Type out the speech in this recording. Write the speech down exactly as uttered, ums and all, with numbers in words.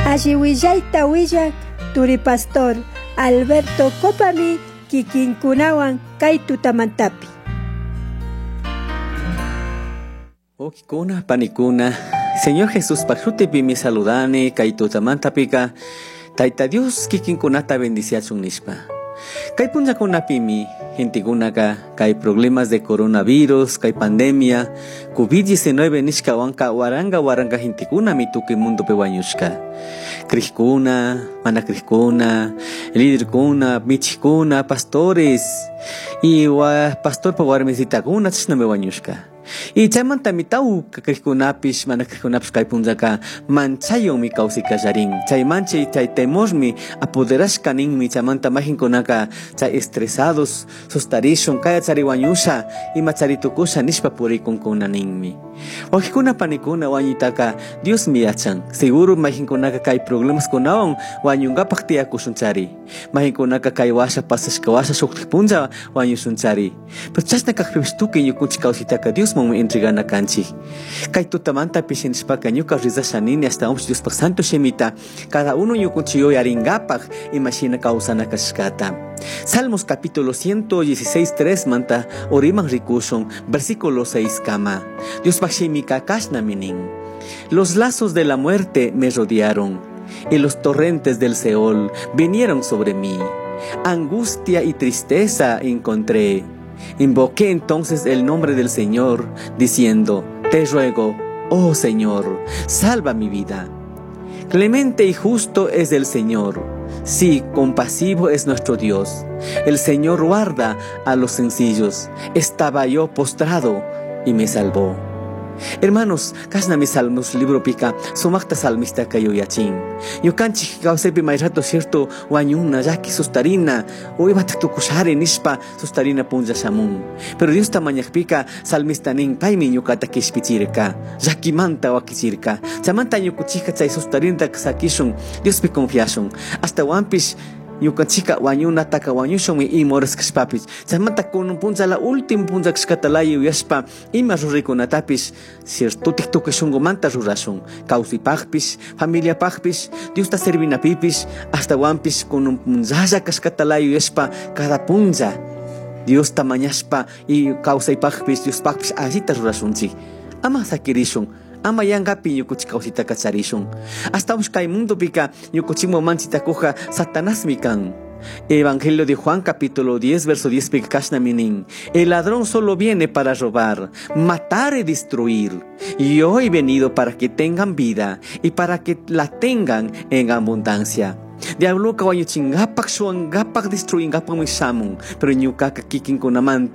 Alli willayta willak turi pastor Alberto Copami kikinkunawan kay tutamantapi. Okikuna, panikuna, Señor Jesús pashutipimi saludani kay tutamantapika Tayta Dios kikinkunata bendiciachun nishpa. Kay punllakunapimi gentekunaka kay problemas de coronavirus, kay pandemia, COVID diecinueve nishkawanka waranga waranga gentekunami tukuy mundopi wañushka. Crijkuna, mana crijkuna, líderkuna, michikuna, pastores, y wa, pastorpa warmisitakuna chashnami wañushka. Y chaymantami tawka crijkunapish, mana crijkunapish kay punllaka manchaywanmi kawsay kallarin. Chay manchay, chay temormi apoderashka ninmi, chaymanta majinkunaka chay estresados, sustarishun, kaya chari wañusha, ima chari tukusha nishpa purikunkuna ninmi. Wajikuna panikuna wañuytaka Diosmi yachan. Seguro majinkunaka kay problemas kunawan wañunkapak tiyakushun chari. Majinkunaka kay washa pasashka washa shuktik punlla wañushun chari. Pero chashna kakpipish tukuy ñukunchik kawsaytaka Diosmanmi entregana kanchik. Kay tutamanta pishinishpaka ñuka rizasha nini hasta un Diospak santo shimita cada uno ñukunchik yuyarinkapak imashina kawsana kashkata. Salmos capítulo ciento dieciséis, tres manta oriman rikushun, versículo seis kama. Diospak shimika kashna minin. Los lazos de la muerte me rodearon, y los torrentes del Seol vinieron sobre mí. Angustia y tristeza encontré. Invoqué entonces el nombre del Señor, diciendo, Te ruego, oh Señor, salva mi vida. Clemente y justo es el Señor. Sí, compasivo es nuestro Dios. El Señor guarda a los sencillos. Estaba yo postrado y me salvó. Hermanos, kasna mi salmos libro pica, sumakta salmista kayuyachin. Ñukanchik kawsaypi may rato cierto wañuna, llaki sustarina, o imata tukushari nishpa sustarina punlla shamun. Pero Dios tamañakpika salmista nin paymi ñukata kishpichirka, llakimanta wakichirka. Chamanta ñukuchika chay sustarinta sakishun, Diospi confiashun. Hasta wampish ñukanchika wañunataka wañushunmi imoras kashpapis. Chaymanta kunun punlla la última punlla kashkata laya yuyashpa ima ruraykunatapish ciertotik tukuy shunqumanta rurashun. Kawsaypaqpish, familiapaqpish, Diosta servinapipis, hasta wanpish kunun punllalla kashkata laya yuyashpa cada punlla Diosta mañashpa y kawsaypaqpish, Diospaqpish allita rurashunchik. Ama sakirishun. Ama yangapi ñukuchik kawsayta kacharishun. Hasta kay mundopika ñukuchikman manchitakuja Satanasmi kan. Evangelio de Juan capítulo diez verso diez pika kashna minin. El ladrón solo viene para robar, matar y destruir. Y yo he venido para que tengan vida y para que la tengan en abundancia. Diablo ka wañuchingapak, shuangapak, destruingapak mi shamun. Pero ñukaka kikinkunamanta